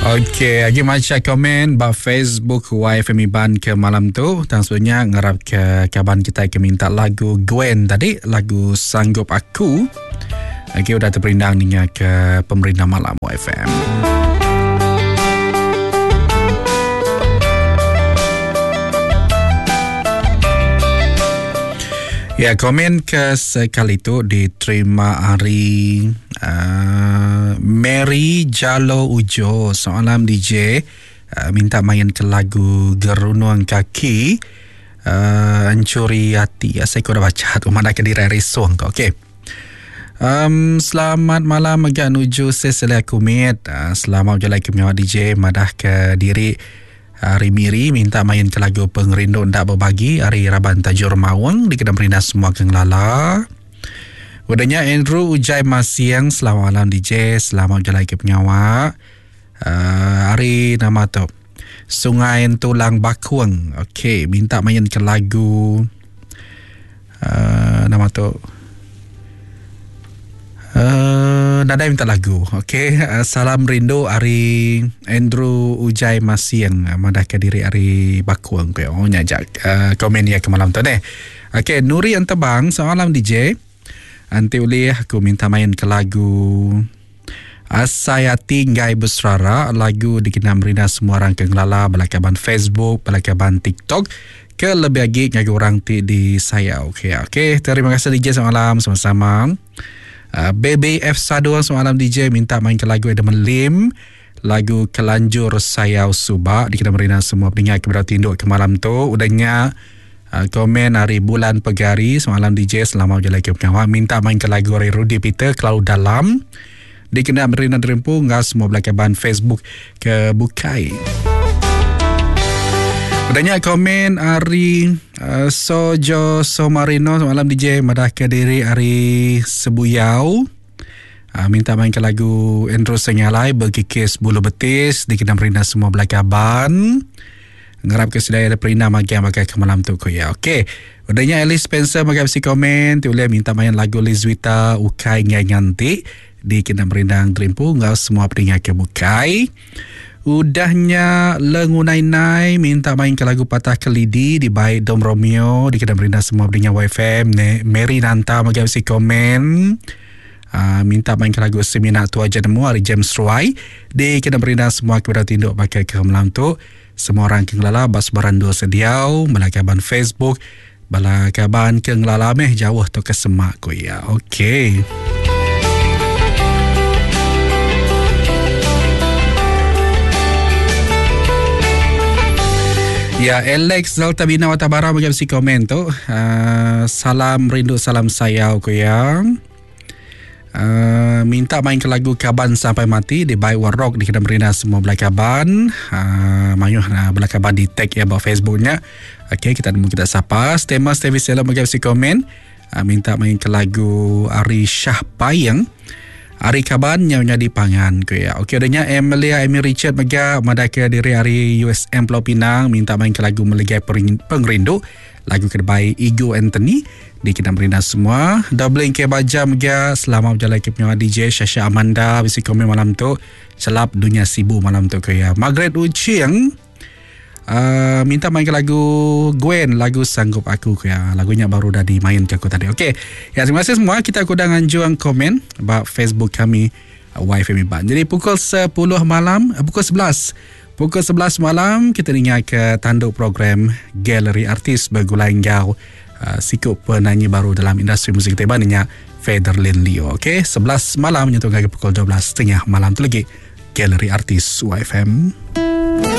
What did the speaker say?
Okey, agi macha komen ba Facebook YFM Iban ke malam tu. Tang sebelumnya ngarap ke kaban kita ke minta lagu Gwen tadi, lagu Sanggup Aku. Okey, udah terperindang ninga ke pemerintah malam YFM. Ya, komen ke sekali tu diterima hari uh, Mary Jalo Ujo. Selamat malam DJ. Uh, minta main ke lagu Gerunung Kaki. Uh, Encuri Hati. Ya, saya kurang baca tu. Mana ke diri risung tu. Okey. Um, selamat malam mega nuju Cecilia Kumit. Uh, selamat berjalan ke pengawa DJ. Madah ke diri Ari Miri minta main ke lagu Pengerindu Enda Bebagi ari raban Tajur Maung dikena merindang semua ke ngelala. Udah nya Andrew Ujai Masiang selamat malam DJ selamat bejalai ke pengawa. Uh, ari nama tu Sungai Entulang Bakung. Okey, minta main ke lagu uh, nama tu Uh, nadai minta lagu. Okey, uh, salam rindu ari Andrew Ujai Masing uh, madah ke diri ari Bakung ke. Oh nya jak uh, komen ia ke malam tu deh. Okey, Nuri Entebang, selamat malam DJ. Anti ulih aku minta main ke lagu Asai Ati Enggai Beserara lagu dikena merina semua orang ke ngelala bala kaban Facebook, bala kaban TikTok ke lebih agi ngagai orang ti disayau. Okey, okey. Terima kasih DJ selamat malam sama-sama. Uh, BBF Sadung selamat malam DJ minta main ke lagu Adam Lim lagu Kelanjur Sayau Suba dikena merina semua pendengar ke berada tinduk ke malam tu. Udahnya uh, komen hari bulan pegari selamat malam DJ selamat berjalan ke pengawa minta main ke lagu hari Rudy Peter Kelalu Dalam dikena merina derempu enggau semua belakaban Facebook ke bukai. Udah nya komen ari uh, Sojo Somarino semalam DJ madah ke diri ari Sebuyau. Uh, minta main ke lagu Andrew Sengalai berkikis bulu betis dikena merina semua belakaban. Ngarap ke sedaya ada perina magi yang pakai ke malam tu ko ya. Okey. Udah nya Alice Spencer magai bisi komen ti ulih minta main lagu Lizwita Ukai Ngai Nganti dikena merindang terimpu enggau semua peninga ke bukai. Udah nya Lengunai Nai minta main ke lagu Patah Kelidi dibai Dom Romeo dikena merindang semua peninga YFM ne Mary Nanta magai bisi komen. Uh, minta main ke lagu Semina Tu Aja Nemu ari James Ruai dikena merindang semua ke bedau tinduk pakai ke malam tu. Semua orang ke ngelala ba sebarang endur sediau bala kaban Facebook bala kaban ke ngelala meh jauh tu ke semak ku iya. Okey. Ya, Alex Delta Bina Watabara bagi bisi komen tu. Uh, salam rindu, salam sayau ku ya. Uh, minta main ke lagu Kaban Sampai Mati di by War Rock di Kedai Merina semua belai kaban. Uh, mayuh uh, belai kaban di tag ya ba Facebooknya. Okey, kita nemu kita sapa. Stema Stevie Selo bagi bisi komen. Uh, minta main ke lagu Ari Shah Payeng. Ari kaban nyau nyadi pangan ku ya. Okey, udahnya Emilia Amy Richard mega madah ke diri ari USM Pulau Pinang minta main ke lagu Meligai Pengerindu. Lagu ke dibai Igo Anthony dikena merindang semua. Doubling ke baja mega selamat berjalai ke pengawa DJ Shasha Amanda bisi komen malam tu. Celap dunia sibu malam tu ke ya. Margaret Ucing uh, minta main ke lagu Gwen lagu Sanggup Aku ke ya. Lagunya baru dah dimain ke aku tadi. Okey. Ya terima kasih semua kita aku dah nganjuang komen ba Facebook kami YFM Iban. Jadi pukul 10 malam, eh, pukul 11. Pukul 11 malam kita ninga ke tanduk program Galeri Artis begulai enggau uh, siku penanyi baru dalam industri muzik kita Iban nya Federlin Leo. Okey, 11 malam nyentuk ngagai pukul 12.30 malam tu lagi Galeri Artis YFM.